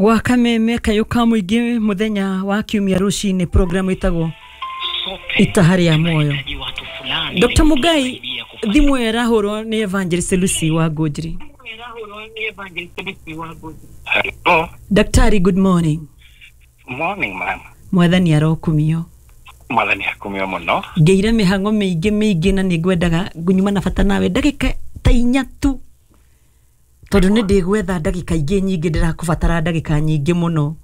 Gwa Kameme kayũ ka mũingĩ, mũthenya wa kiumia rũcinĩ, program ĩtagwo Itaha rĩa Muoyo. Dr. Mugai, thimũ ĩyo ĩrahũrwo nĩ Evangelist Lucy wa Ngũnjiri. Hello. Daktari, good morning. Morning, ma'am. Mwathani arokumio. Mwathani akumio mũno. Ngĩire mĩhang'o mĩingĩ mĩingĩ na nĩ ngwendaga ngunyuma na bata nawe ndagĩka ta 4 tu, tondũ nĩ ndĩgwetha ndagĩka ingĩ nyingĩ, ndĩrakũbatara ndagĩka nyingĩ mũno.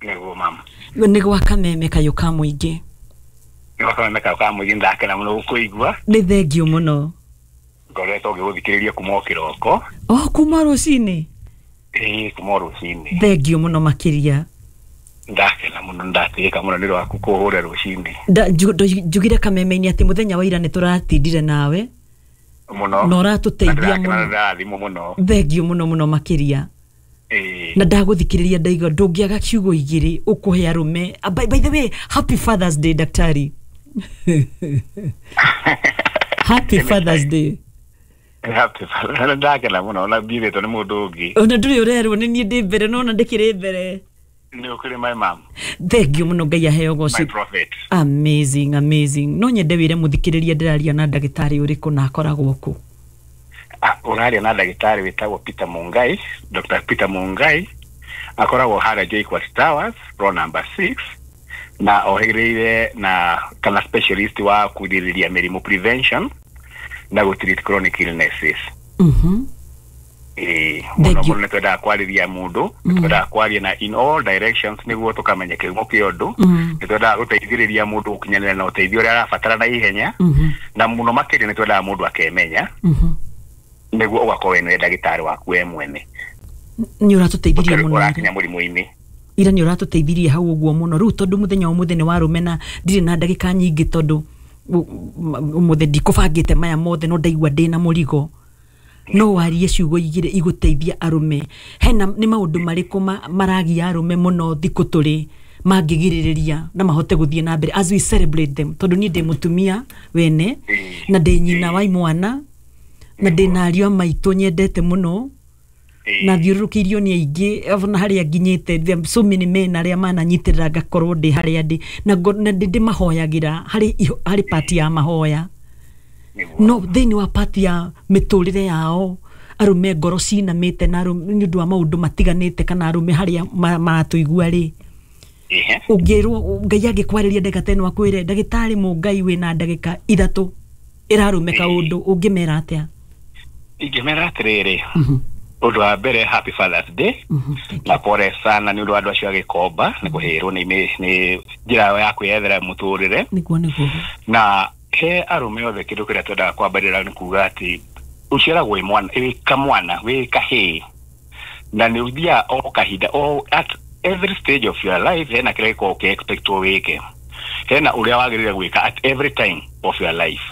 Nĩguo, ma'am. Nĩ gwa Kameme kayũ ka mũingĩ. Nĩ Kameme kayũ ka mũingĩ, ndakena mũno gũkũigua. Nĩ thengio mũno. Ngoretwo ngĩgũthikĩrĩria kuma o kĩroko. O kuma rũcinĩ? Ĩĩ, kuma o rũcinĩ. Thengio mũno makĩria. Ndakena mũno, ndatĩĩka mũno nĩ rwaku kũhũra rũcinĩ. Njugire Kameme-inĩ atĩ mũthenya wa ira nĩ tũratindire nawe mũno na ũratũteithia mũno. Ndĩrathimwo mũno. Thengio mũno mũno makĩria. Na ndagũthikĩrĩria ndaigua ndũngĩaga ciugo igĩrĩ ũkũhe arũme. By the way, happy Father's Day, daktari. Happy Father's Day. Happy Father's. Ndakena mũno na mbirĩtwo nĩ mũndũ ũngĩ. Ona ndũrĩ ũrerwo nĩ niĩ ndĩ mbere, nona ndĩkĩrĩ mbere. Nĩ ũkĩrĩ, my mom. Thengio mũno, Ngai aheo My goci. prophet. Amazing, amazing. No nyende wĩre mũthikĩrĩria ndĩraria na ndagĩtarĩ ũrĩkũ na akoragwo kũ. Ũraria na ndagĩtarĩ wĩtagwo Peter Mungai, Dr. Peter Mungai, akoragwo harĩa JKUAT Towers, floor number 6, na ohĩgĩrĩire na kana specialist wa kũgirĩrĩria mĩrimũ, prevention, na gũ treat chronic illnesses. Ĩĩ, mũno. Thank you. Mũno nĩ twendaga kwarĩria mũndũ, nĩ twendaga kwaria na in all directions nĩguo tũkamenya kĩhumo kĩa ũndũ. Nĩ twendaga gũteithĩrĩria mũndũ gũkinyanĩra na ũteithio ũrĩa arabatara na ihenya, na mũno makĩria nĩ twendaga mũndũ akemenya nĩguo ũgakorwo we nĩwe ndagĩtarĩ waku we mwene. Nĩ ũratũteithirie mũno ira. Ũrakinya mũrimũ-inĩ. Ira nĩ ũratũteithirie hau ũguo mũno. Rĩu tondũ mũthenya wa ũmũthĩ nĩ wa arũme na ndirĩ na ndagĩka nyingĩ, tondũ ũmũthĩ ndikũbangĩte maya mothe, no ndaigua ndĩna mũrigo, no warie ciugo igĩrĩ igũteithia arũme. Hena nĩ maũndũ marĩkũ maragia arũme mũno thikũ tũrĩ mangĩgirĩrĩria na mahote gũthiĩ na mbere as we celebrate them? Tondũ niĩ ndĩ mũtumia wene na ndĩ nyina wa imwana na ndĩ na ariũ a maitũ nyendete mũno na thiũrũrũkĩirio nĩ aingĩ, ona harĩa nginyĩte there are so many men arĩa mananyitĩrĩra ngakorwo ndĩ harĩa ndĩ na na ndĩ ndĩmahoyagĩra harĩ part ya mahoya. No thĩinĩ wa part ya mĩtũrĩre yao, arũme ngoro cinamĩte na arũme nĩ ũndũ wa maũndũ matiganĩte, kana arũme harĩa maratũigua rĩ, ũngĩrwo Ngai angĩkwarĩria ndagĩka ta ĩno akwĩre, "Ndagĩtarĩ Mũngai, wĩna ndagĩka 3 ĩrarũme kaũndũ," ũngĩmera atĩa? Ingĩmera atĩrĩrĩ, ũndũ wa mbere, happy Father's Day. Na pole sana nĩ ũndũ wa andũ acio a Gĩkomba nĩ kũhĩrwo nĩ njĩra yao ya kwĩyethera mũtũrĩre. Nĩguo. Na he arũme othe, kĩndũ kĩrĩa twendaga kwambĩrĩra nĩ kuga atĩ ũciaragwo wĩ mwana, wĩ kamwana, wĩ kahĩĩ, na nĩ ũthiaga o kahinda o at every stage of your life hena kĩrĩa gĩkoragwo ũkĩ-expectwo wĩke, hena ũrĩa wagĩrĩire gwĩka at every time of your life.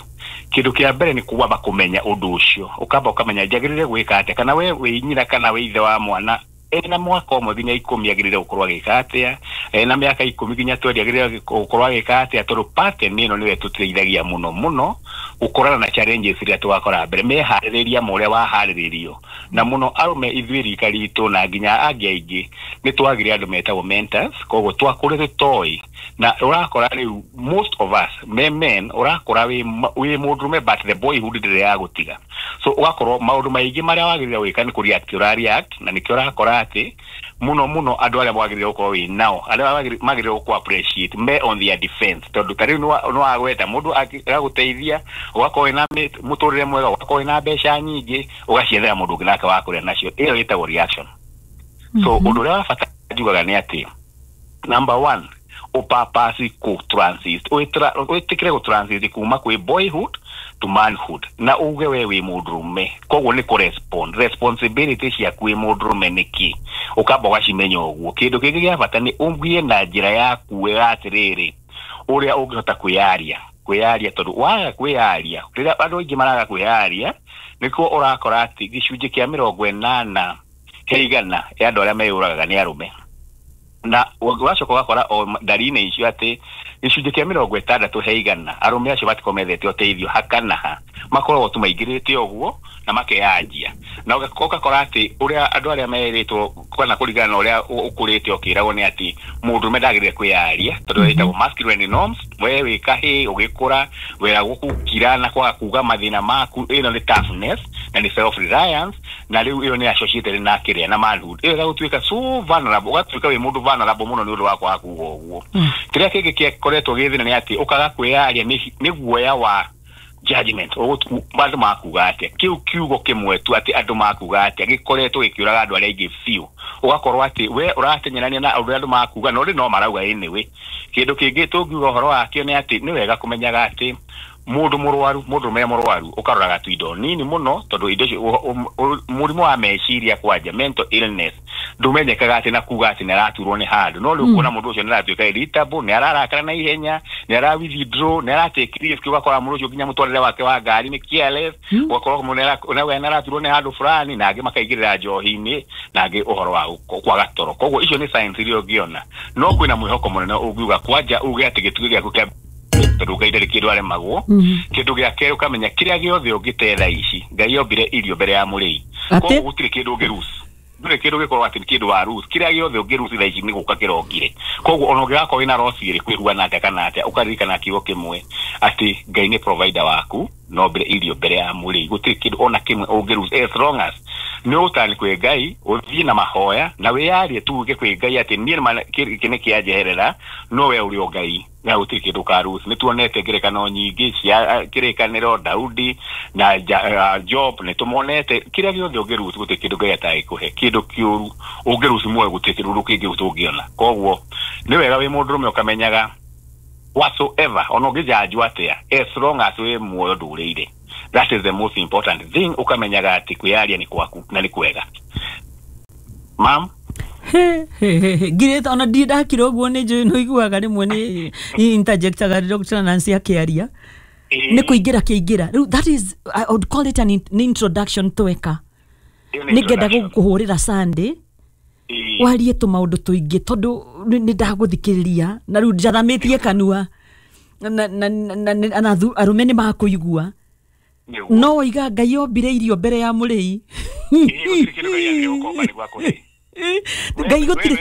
Kĩndũ kĩa mbere nĩ kwamba kũmenya ũndũ ũcio, ũkamba ũkamenya njagĩrĩire gwĩka atĩa, kana we wĩ nyina kana wĩ ithe wa mwana ena mwaka 1 nginya 10 agĩrĩire gũkorwo agĩka atĩa, ena mĩaka 10 nginya 20 agĩrĩire gũkorwo agĩka atĩa, tondũ pattern ĩno nĩyo ĩtũteithagia mũno mũno gũkorana na challenges iria tũgakora mbere meharĩrĩria ma ũrĩa waharĩrĩrio. Na mũno arũme ithuĩ rika ritũ na nginya angĩ aingĩ nĩ twagire andũ metagwo mentors, koguo twakũrĩte tũtoĩ, na ũrakora rĩu most of us me men ũrakora wĩ mũndũrũme but the boyhood ndĩrĩ ya gũtiga, so ũgakorwo maũndũ maingĩ marĩa wagĩrĩire gwĩka nĩ kũ-react ũra-react, na nĩkĩo ũrakora atĩ mũno mũno andũ arĩa wagĩrĩire gũkorwo wĩ nao, arĩa magĩrĩire gũkũ appreciate me on their defense, tondũ ta rĩu nĩ wagweta mũndũ agũteithia ũgakorwo wĩna mũtũrĩre mwega, ũgakorwo wĩna mbeca nyingĩ, ũgaciethera mũndũ ũngĩ nake wa kũrĩa nacio, ĩyo ĩtagwo reaction. So ũndũ ũrĩa wa bata njugaga nĩ atĩ number one, ũpapasi kũ transit, wĩtĩkĩre gũ transit kuma kwĩ boyhood to manhood, na uge we wĩ mũndũrũme, koguo nĩ kũ respond responsibility ciaku wĩ mũndũrũme nĩkĩ, ũkamba ũgacimenya ũguo. Kĩndũ kĩngĩ gĩa bata nĩ ũgĩe na njĩra yaku we atĩrĩrĩ ũrĩa ũngĩhota kwĩyaria, tondũ waga kwĩyaria, rĩrĩa andũ aingĩ maraga kwĩyaria, nĩkuo ũrakora atĩ gĩcunjĩ kĩa 80 he igana ya andũ arĩa meyũragaga nĩ arũme, na ũgacoka ũgakora o ndari-inĩ icio atĩ gĩcunjĩ kĩa 60 he igana arũme acio matikorwo methete ũteithio hakana ha, makoragwo tu maingĩrĩte ũguo na makeyanjia, na ũgakora atĩ ũrĩa andũ arĩa merĩtwo kana kũringana na ũrĩa ũkũrĩte ũkĩragwo nĩ atĩ mũndũrũme ndagĩrĩire kwĩyaria tondũ ĩtagwo masculine norms. We wĩ kahĩĩ ũgĩkũra weragwo gũkira na kwaga kuga mathĩna maku, ĩno nĩ toughness na nĩ self reliance, na rĩu ĩyo nĩ associated na kĩrĩa na manhood. Ĩyo ĩgagũtuĩka so vulnerable, ũgatuĩka wĩ mũndũ vulnerable mũno nĩ ũndũ wa kwaga kuga ũguo. Kĩrĩa kĩngĩ kĩkoretwo gĩ thĩna nĩ atĩ ũkaga kwĩyaria nĩ guoya wa judgment, andũ makuga atĩa. Kĩu kiugo kĩmwe tu atĩ andũ makuga atĩa gĩkoretwo gĩkĩũraga andũ arĩa aingĩ biũ. Ũgakorwo atĩ we ũratenyerania na ũrĩa andũ makuga, no rĩ no marauga anyway. Kĩndũ kĩngĩ tũngiuga ũhoro wakĩo nĩ atĩ nĩ wega kũmenyaga atĩ mũndũ mũrwaru, mũndũ mũrwaru ũkaroraga tu indo nini mũno, tondũ indo icio mũrimũ wa meciria kwanja mental illness ndũmenyekaga atĩ na kuga atĩ nĩ araturwo nĩ handũ, no rĩu kuona mũndũ ũcio nĩ aratuĩka irritable, nĩ ararakara na ihenya, nĩ ara withdraw, nĩ ara take risk, ũgakora mũndũ ũcio nginya mũtwarĩre wake wa ngari nĩ careless, ũgakora mũndũ nĩ araturwo nĩ handũ fulani, na angĩ makaingĩrĩra njohi-inĩ, na angĩ ũhoro wa kwaga toro. Koguo icio nĩ signs iria ũngĩona, no kwĩna mwĩhoko mũnene ũngiuga kwanja uge atĩ gĩtugĩ gĩaku kĩa tondũ Ngai ndarĩ kĩndũ aremagwo. Kĩndũ gĩa kerĩ ũkamenya kĩrĩa gĩothe ũngĩte thaa ici, Ngai ombire irio mbere ya mũrĩi, koguo gũtirĩ kĩndũ ũngĩruci, ndũrĩ kĩndũ gĩkorwo atĩ nĩ kĩndũ wa ruci, kĩrĩa gĩothe ũngĩruci thaa ici nĩ gũka kĩrokire. Koguo ona ũngĩgakorwo wĩna roci ĩrĩkũ ĩhuana atĩa kana atĩa, ũkaririkana kiugo kĩmwe atĩ Ngai nĩ provider waku, no mbere irio mbere ya mũrĩi, gũtirĩ kĩndũ ona kĩmwe ũngĩruci as long as nĩ ũgũtani kwĩ Ngai, ũthiĩ na mahoya na wĩyarie tu uge kwĩ Ngai atĩ niĩ gĩkĩ nĩ kĩanjeherera, no we ũrĩ o Ngai na gũtirĩ kĩndũ ũkaruci. Nĩ tuonete ngerekano nyingĩ cia kĩrĩkanĩro, Daudi na Job, nĩ tũmonete kĩrĩa gĩothe ũngĩruci gũtirĩ kĩndũ Ngai atangĩkũhe, kĩndũ kĩũru ũngĩruci muoyo gũtirĩ kĩndũ kĩngĩ ũtũngĩona. Koguo nĩ wega wĩ mũndũrũme ũkamenyaga whatsoever ona ũngĩjanjwo atĩa, as long as wĩ muoyo ndũrĩire, that is the most important thing. Ũkamenyaga atĩ kwĩyaria nĩ kwaku na nĩ kwega. Ma'am? Ngirĩte ona ndirĩ ndakira ũguo, nĩ njũĩ nĩ ũiguaga rĩmwe nĩ interjectaga Dr. Nancy akĩaria, nĩ kũingĩra kĩingĩra rĩu, that is, I would call it an introduction tweka. Nĩ ngenda gũkũhũrĩra Sunday warie tũmaũndũ tũingĩ tondũ nĩ ndagũthikĩrĩria na rĩu njathamĩtie kanua na arũme nĩ makũigua. No waiga Ngai ombire irio mbere ya mũrĩi. Ngai gũtirĩ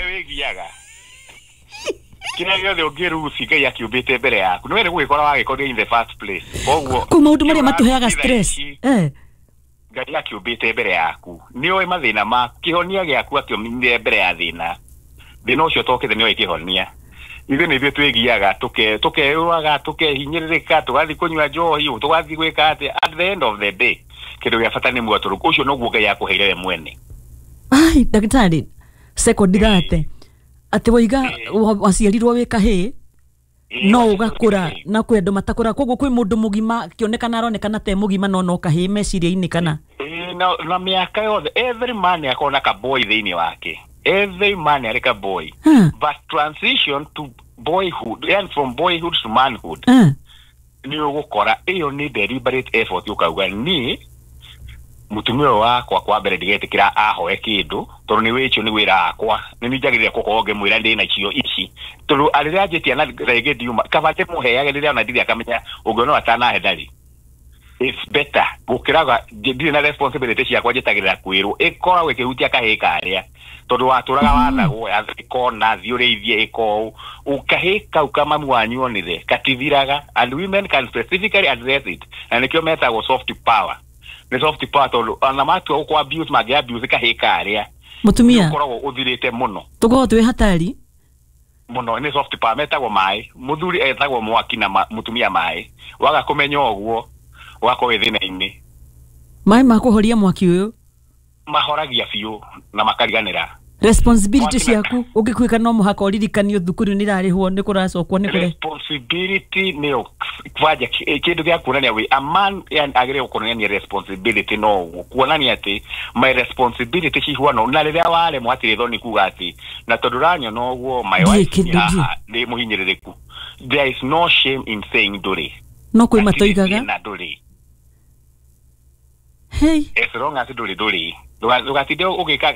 kĩrĩa gĩothe ũngĩruci Ngai akĩũmbĩte mbere yaku, nĩ were gũgĩkora wagĩkorire in the first place. Koguo kũu maũndũ marĩa matũheaga stress, Ngai akĩũmbĩte mbere yaku, nĩ oĩ mathĩna maku, kĩhonia gĩaku akĩũmbire mbere ya thĩna, thĩna ũcio tokĩte nĩ oĩ kĩhonia. Ithuĩ nĩ ithuĩ twĩgiaga, tũkeyũraga, tũkehinyĩrĩrĩka, tũgathiĩ kũnyua njohi, tũgathiĩ gwĩka atĩa. At the end of the day kĩndũ gĩa bata nĩ muoyo, tondũ ũcio noguo Ngai akũheire we mwene. Ai ndagĩtarĩ, sekondi thate atĩ waiga waciarirwo wĩ kahĩĩ no ũgakũra na kwĩ andũ matakũra, koguo kwĩ mũndũ mũgima akĩonekana aronekana te mũgima no no kahĩĩ meciria-inĩ kana na mĩaka yothe every man akorwo na kaboy thĩinĩ wake, every man arĩ kaboy, but transition to boyhood and from boyhood to manhood nĩ ũgũkora ĩyo nĩ deliberate effort, ũkauga niĩ mũtumia ũyũ wakwa kwa mbere ndigetĩkĩra ahoe kĩndũ tondũ nĩ wĩcio nĩ wĩra wakwa, nĩ niĩ njagĩrĩire gũkorwo ngĩmwĩra ndĩ nacio ici, tondũ rĩrĩa anjĩtia na rĩngĩ ndiuma kaba ndĩmũheage rĩrĩa ona ndirĩ akamenya ũngĩona atanahe ndarĩ. It's better gũkĩraga ndirĩ na responsibility ciakwa njĩtagĩrĩra kwĩrwo, ĩkoragwo ĩkĩhutia kahĩĩ karĩa tondũ watũraga wathagwo ĩkona thiĩ ũrĩithie ĩko ũũ, kahĩĩ kau ka mamu wanyu onire katithiraga, and women can specifically address it, na nĩkĩo metagwo soft power. Nĩ soft power tondũ ona matua gũkũ abuse mangĩ abuse kahĩĩ karĩa mũtumia ũkoragwo ũthirĩte mũno, tũkoragwo twĩ hatari mũno. Nĩ soft power metagwo maĩ, mũthuri etagwo mwaki na mũtumia maĩ, waga kũmenya ũguo ũgakorwo wĩ thĩna-inĩ. Maĩ ma kũhoria mwaki ũyũ mahoragia biũ na makariganĩra responsibility ciaku, ũngĩkuĩka no mũhaka ũririkanio thukuru nĩ irarĩhwo, nĩ kũracokwo, nĩ kũre responsibility nĩyo kwanja kĩndũ gĩa kuonania wĩ a man agĩrĩirwo kuonania responsibility, no ũguo kuonania atĩ my responsibility cihuana, na rĩrĩa waremwo hatirĩ thoni kuga atĩ na tondũ ũranyona ũguo my wife nĩ haha ndĩ mũhinyĩrĩrĩku, there is no shame in saying ndũrĩ, no kwĩ matoigaga na ndũrĩ. Hey, as long as ndũrĩ ndũrĩ. Ndũgatinde ũgĩka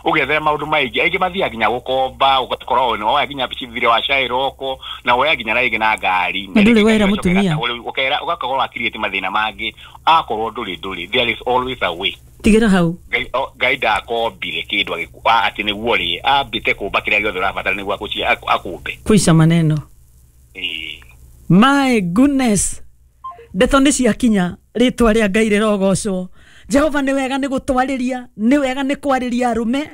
ũgĩethera maũndũ maingĩ. Aingĩ mathiaga nginya gũkomba, ũgakorwo nĩ woya nginya thirĩ wa Shylock, na woya nginya rĩngĩ na ngari. Na ndũrĩ wera mũtumia. Ũkera ũgakorwo wakiriĩte mathĩna mangĩ. Akorwo ndũrĩ, there is always a way. Tigĩra hau. Ngai ndakombire kĩndũ atĩ nĩguo rĩ ambĩte kũmba kĩrĩa gĩothe ũrabatara nĩguo akũmbe. Kuisha maneno. Ĩĩ. My goodness, ndeto nĩ ciakinya. Rĩtwa rĩa Ngai rĩrogocwo. Jehova nĩ wega nĩ gũtwarĩria, nĩ wega nĩ kwarĩria arũme,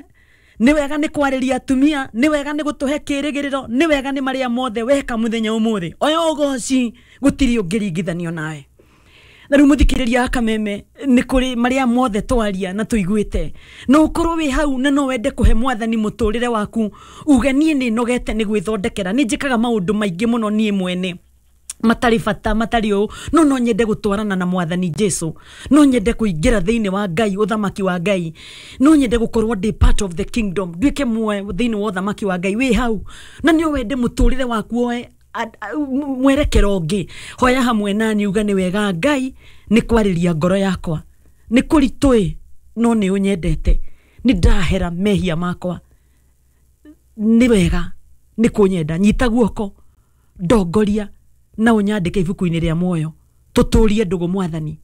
nĩ wega nĩ kwarĩria atumia, nĩ wega nĩ gũtũhe kĩrĩgĩrĩro, nĩ wega nĩ marĩa mothe weka mũthenya ũmũthĩ. Oya ũgoci, gũtirĩ ũngĩringithanio nawe. Na rĩu mũthikĩrĩria akameme, nĩ kũrĩ marĩa mothe twaria na tũiguĩte, no ũkorwo wĩ hau na no wende kũhe Mwathani mũtũrĩre waku, uge niĩ nĩ nogete nĩ gwĩthondekera, nĩ njĩkaga maũndũ maingĩ mũno niĩ mwene matarĩ bata, matarĩ ũũ, no nyende gũtwarana na Mwathani Jesu, no nyende kũingĩra thĩinĩ wa Ngai, ũthamaki wa Ngai, no nyende gũkorwo ndĩ part of the kingdom, nduĩke muoyo thĩinĩ wa ũthamaki wa Ngai. Wĩ hau na nĩ wende mũtũrĩre waku oe mwerekero ũngĩ, hoya hamwe nani, uga nĩ wega Ngai nĩ kwarĩria ngoro yakwa, nĩ kũritũ no nĩ ũnyendete, nĩ ndahera mehia makwa, nĩ wega nĩ kũnyenda, nyita guoko, ndongoria na ũnyandĩke ibuku-inĩ rĩa muoyo, tũtũrie ndũgũ Mwathani.